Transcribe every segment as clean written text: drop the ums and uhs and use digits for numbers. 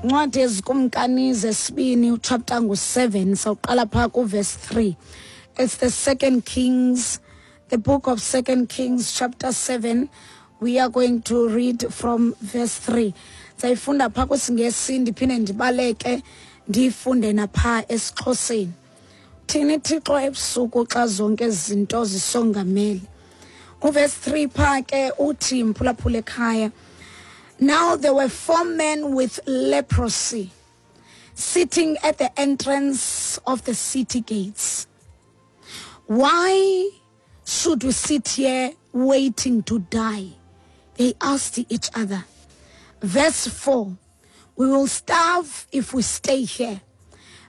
Incwadi yezikumkani zesibini uchapter ngu-7, sawuqala phaa kuverse 3. It's the Second Kings, the book of Second Kings chapter 7. We are going to read from verse 3. Sayifunda phaa kwisiNgesi, ndiphinde ndibaleke ndiyifunde naphaa esiXhoseni. Thini Thixo ebusuku xa zonke izinto zisongamele? Uverse 3 phaa ke uthi, mphulaphula ekhaya, "Now there were four men with leprosy sitting at the entrance of the city gates. Why should we sit here waiting to die? They asked each other. Verse 4, We will starve if we stay here.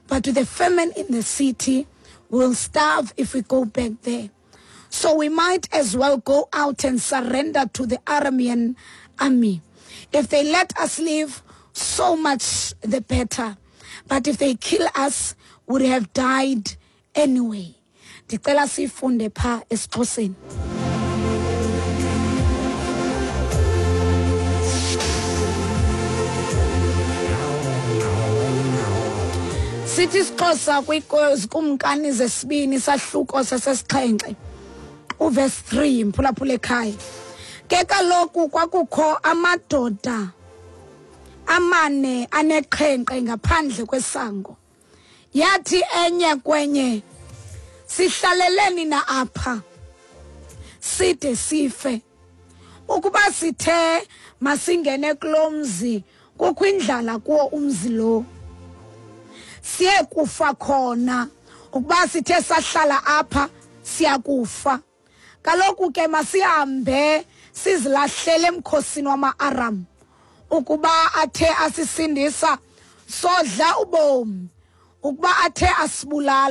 But with the famine in the city, we will starve if we go back there. So we might as well go out and surrender to the Aramean army. If they let us live, so much the better. But if they kill us, we would have died anyway." Ndicela siyifunde pha esiXhoseni. Sithi isiXhosa kwizikumkani zesibini sahluko sasesixhenxe uverse 3, mphulaphula ekhaya. Ke kaloku kwakukho amadoda amane aneqhenqe ngaphandle kwesango. Yathi enye kwenye, sihlaleleni na apha side sife? Ukuba sithe masingene kulo mzi, kukho indlala kuwo umzi lo, siye kufa khona. Ukuba sithe sahlala apha, siyakufa. Kaloku ke masihambe sizilahlele emkhosini wama-Aram. Ukuba athe asisindisa, sodla ubomi. Ukuba athe asibulala,